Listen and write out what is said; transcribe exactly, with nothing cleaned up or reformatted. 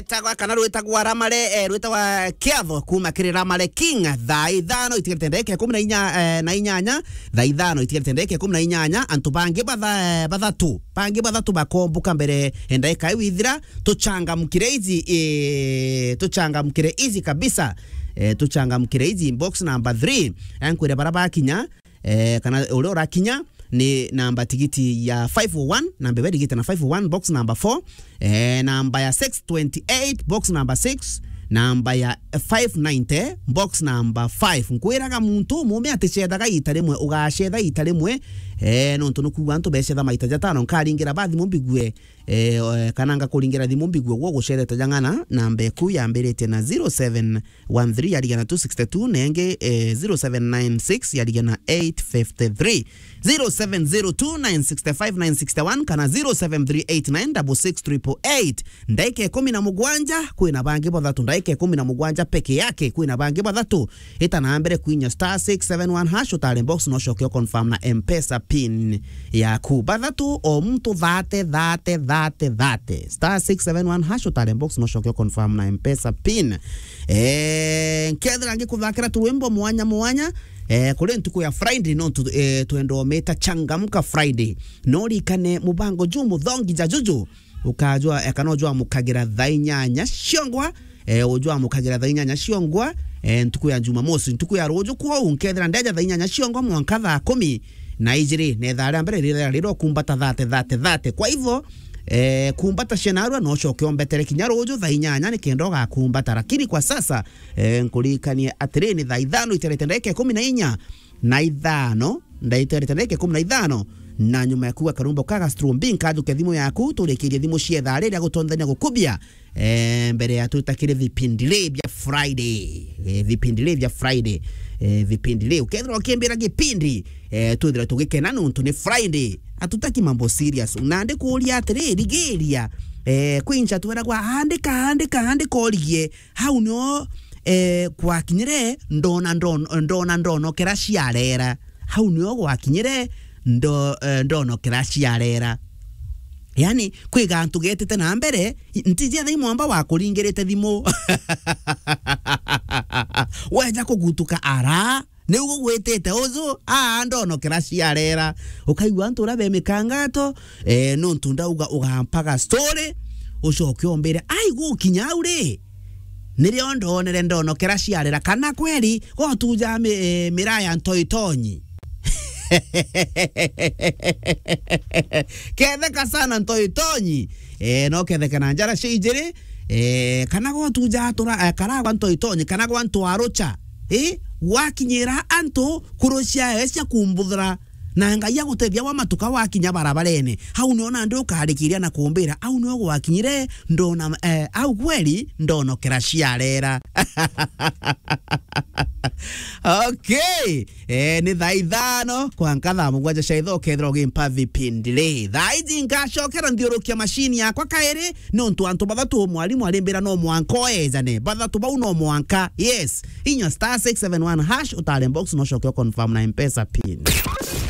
Tagwa kana rwitagwa Ramare, eh, rwitagwa Kiatho kuma kiri Ramare King. Thaa ithano itigarite ndagika ikumi na inya, eh, na inyanya. Thaa ithano itigarite ndagika ikumi na inyanya. Antu bangi batha-, eh, bathatu. Bangi bathatu bakombuka mbere, eh, ndagika iu ithira. Tuchangamkire izi, eh, tuchangamkire izi kabisa. Eh, tuchangamkire izi. Box number three. Eh, nkwire bara bakinya. Eh, kana uria urakinya ni namba tigiti ya five oh one, namba iria irigite na five oh one, box number four, eh, namba ya six twenty-eight, box number six, namba ya five ninety, box number five. Nkwiraga muntu umume aticethaga ita rimwe, ugacetha ita rimwe, eh, nontu nukuuga antu becetha maita jatano, nkaringira ba thimu mbigue, eh, o-, eh, kana ngakuringira thimu mbigue gwo gucethete jang'ana, namba eku yambiritie na zero seven one three yarigana two sixty two, na ingi, eh, zero seven nine six yarigana eight fifty three, zero seven zero two nine six five nine six one, kana zero seven three eight nine six six triple eight. Ndaika ikumi na mugwanja, kwina bangi bathatu. Ndaika ikumi na mugwanja peke yake, kwina bangi bathatu. Ita na mbere kwinya star six seven one hash, utare box, no coke confirm na M-Pesa pin yaku. Bathatu, o muntu thate, thate, thate, thate. Star six seven one hash, utare box, no coke confirm na M-Pesa pin. Eh, nkethira ngikuthakira turwimbo mwanya mwanya, eh, kuri ntuku ya Friday, no tu-, eh, twenda ometa Changamka Friday. No rikane mubango ju muthongi ja juju, ukajwa, eh, kana ujwa mukagira thaa inyanya ciongwa, eh, ujwa mukagira thaa inyanya ciongwa, eh, ntuku ya Jumamosi, ntuku ya ruju kwou, nkethira ndeja thaa inyanya ciongwa mwanka thaa kumi na ijiri, na ithaa ria mbere riria riro kumbata thate, thate, thate. Kwa hivyo, eh, kumbata cia narua, no coke ombetere kinya ruju thaa inyanya nikenda ugakumbata. Lakini kwa sasa, eh, nkurikanie atiri, ni thaa ithano iterete ndagika ikumi na inya na ithano, ndaiterete ndagika ikumi na ithano, na nyuma ya kuuga karumbo ka Gastro Mbi, nkajukia thimu yaku, turikirie thimu cia ithaa riria gutonthania gukubia, eh, mbere ya twitakire vipindi ri bia Friday. Eh, vipindi ri bia Friday. Eh, vipindi ri. Ukethira ukimbira gipindi, eh, twithira tugikena nuntu ni Friday. Atutaki mambo serious. Na ndikuuria atiri, rigiria, eh, kwincha tweragwa, andika, andika, andika urigie. Hau nio, eh, gwakinyire, ndona, ndon-, ndona ndonokera ciarera. Hau nio gwakinyire, ndo-, eh, ndonokera ciarera. Yani, kwi gantu getite na mbere, i-, ntiji ethai mwamba wakuringirite thimu. Weja kugutuka ara, niu gugwitite uju, aa, ndonokera ciarera. Ukaigua antu uria be mikangato, eh, nuntu ndauga ugampaga story, ucoke umbire, ai, gukinya au ri, nirio ndonere ndonokera ciarera, kana kweri gotuja mi-, eh, miraa ya ntoitonyi. Ketheka sana ntoitonyi. Eh, no ketheke na njara cia ijiri, eh, kana gotuja atura, eh, karagwa ntoitonyi, kana gwa ntwarucha. Eh, gwakinyira antu kurucia cia kumbuthura. Na Ngai agutethia wa matuka wakinya barabarene. Hau nio nandi ukarikiria na kumbira, au nio gwakinyire, ndona, eh, au kweri ndonokera ciarera. Okay. Eh, ni thaa ithano, kwa nka thaa mugwanja cia itho, ukethira ugimpa vipindi ri. Thaa iji nkacokera nthiurukia mashini yakwa kairi, nontu antu bathatu mwarimu arimbira no mwanka oejane. Bathatu bau no mwanka. Yes. Inya star six seven one hash, utare box, no coke confirm na M-Pesa pin.